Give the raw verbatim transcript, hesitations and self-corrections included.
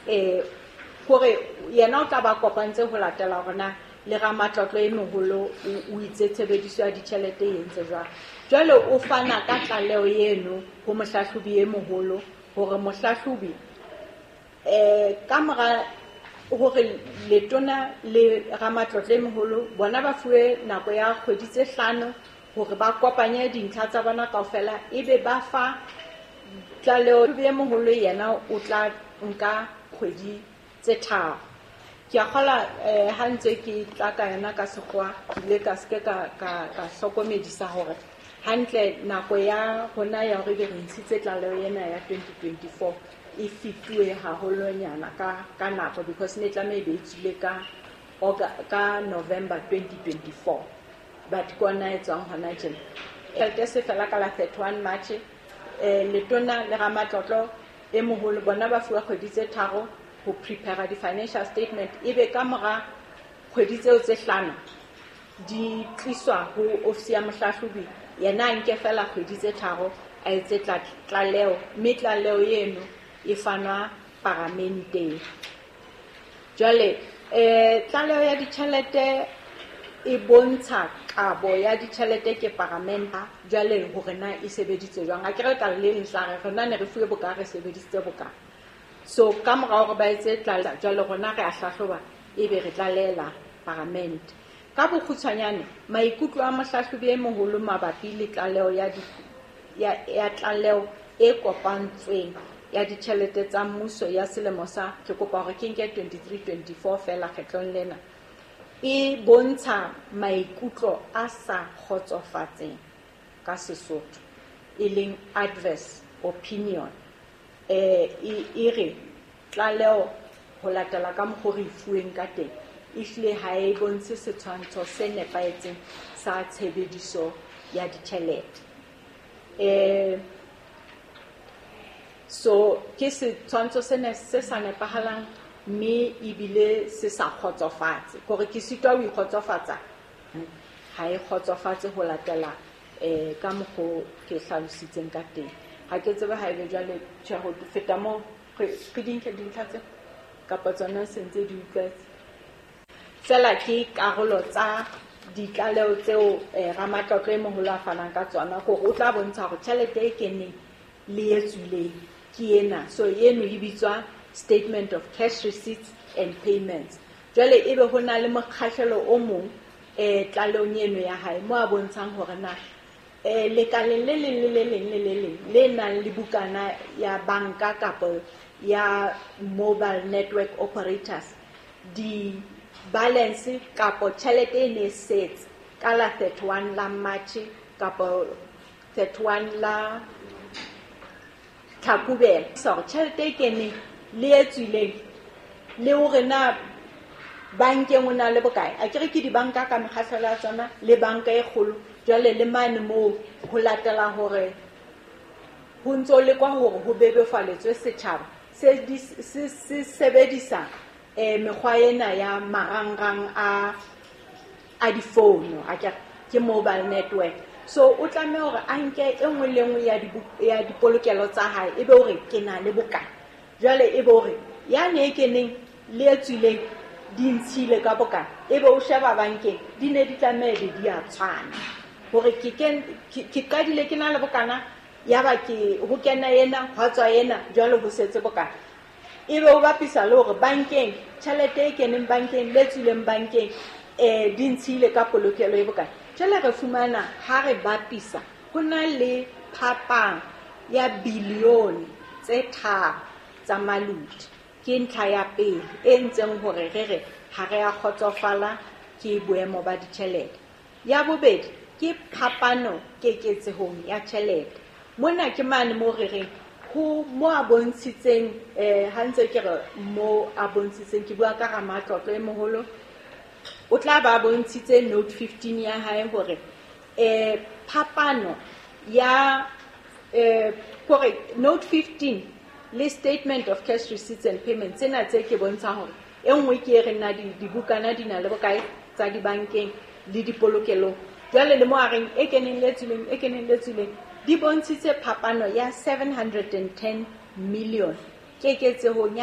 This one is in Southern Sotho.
um hore yena o tla ba kopantse ho latela hore na le ramatlotlo e moholo o itse tshebediso ya ditjhelete e entse jwang. Jwale o fana ka tlaleho eno ho mohlahlobi e moholo hore mohlahlobi eh ka mora hore letona le ramatlotlo e moholo bona ba fuwe nako ya kgwedi tse hlano hore ba kopanye dintlha tsa bona kaofela, ebe ba fa tlaleho e moholo yena o tla nka kgwedi tse tharo. Ke a kgola eh ha ntse ke tla ka yona ka sekgowa, ke ile ka seke ka ka ka hlokomedisa hore hantle nako ya rona ya hore ebe re ntshitse tlaleho ena ya twenty twenty-four e fetuwe haholonyana ka ka nako, because ne tlameha e be e tswile ka ka November twenty twenty-four, but ke ona e tswang hona tjena. Tjhelete se fela ka la thirty-one March, eh letona le ramatlotlo e moholo bona ba fuwa kgwedi tse tharo ho prepare di-financial statement, ebe ka mora kgwedi tseo tse hlano di tliswa ho ofisi ya mohlahlobi, yena a nke fela kgwedi tse tharo a etse tlaleho, mme tlaleho eno e fanwa paramenteng. Jwale eh tlaleho ya ditjhelete e bontsha kabo ya ditjhelete ke paramenta, jwale hore na e sebeditswe jwang. Akere tla le leng tla re rona ne re fuwe boka, re sebedisitse boka. So ka mora hore ba etse tlaleho, jwale rona re a hlahloba ebe re tlalehela paramente. Ka bokgutshwanyane, maikutlo a mohlahlobi e moholo mabapi le tlaleho ya di, ya, ya tlaleho e kopantsweng ya ditjhelete tsa mmuso ya selemo sa, ke kopa hore ke nke twenty-three twenty-four fela kgetlong lena, e bontsha maikutlo a sa kgotsofatseng ka Sesotho, e leng adverse opinion. Eh, e, e re tlaleho ho latela ka mokgwa re e fuweng ka teng, ehlile ha e bontshe setshwantsho se nepahetseng sa tshebediso ya ditjhelete. Eh, so ke setshwantsho sena se sa nepahalang mme ebile se sa kgotsofatse, hore ke sitwa ho ikgotsofatsa, ha e kgotsofatse ho latela eh ka mokgo ke hlalositseng ka teng. Ha ke tsebe ha ebe jwale tjhe ho feta moo, re re di nke dintlha tse kapa tsona se ntse di utlwetse. Fela ke karolo tsa ditlaleho tseo eh, ramatlotlo e moholo a fanang ka tsona, hore o tla bontsha hore tjhelete e keneng le e tswileng ke ena. So eno e bitswa statement of cash receipts and payments. Jwale ebe ho na le mokgahlelo o mong eh tlalehong eno ya hae mo a bontshang hore na eh lekaleng le leng le le leng le le leng le nang le bukana ya banka kapa ya mobile network operators, di balance kapo tjhelete e ne setse ka la thirty-one la March kapo thirty-one la Tlhakubele. So tjhelete e keneng le e tswileng le hore na bankeng o na le bokae, akere ke dibanka ka mekgahlelo ya tsona le banka e kgolo, jwale le mane moo ho latela hore ho ntso lekwa hore ho bebofaletswe setjhaba se di, se, se sebedisa eh mekgwa ena ya marangrang a, a difounu, akere ke mobile network. So o tlameha hore a nke e nngwe le nngwe ya dibu-, ya dipolokelo tsa hae, ebe hore ke na le bokae. Jwale ebe hore yane e keneng le e tswileng di ntshile ka bokae, ebe o sheba bankeng di ne di tlameha be di a tshwana, hore ke ken-, ke, ke qadile ke na le bokana, ya ba ke ho kena ena, hwa tswa ena, jwale ho setse bokae. Ebe o bapisa le hore bankeng tjhelete e keneng bankeng le tswileng bankeng eh di ntshile ka polokelo e bokae. Jwale re fumana ha re bapisa ho na le phapang ya bilione tse tharo tsa malodi. Ke ntlha ya pele e ntseng hore re re ha re a kgotsofala ke boemo ba ditjhelete. Ya bobedi ke phapano keketsehong ya tjhelete. Mona ke mane moo re reng ho mo a bontshitseng, eh, ha ntse ke re mo a bontshitseng, ke bua ka ramatlotlo e moholo, o tla ba bontshitse note fifteen ya hae hore, eh, phapano ya, eh, hore note fifteen le statement of cash receipts and payments tsena tse ke bontshang hore e nngwe ke e re na di-, dibukana di na le bokae tsa dibankeng le dipolokelong. Jwale le mo a reng e keneng le tswileng, e keneng le tswileng, di bontshitse phapano ya seven hundred and ten million keketsehong ya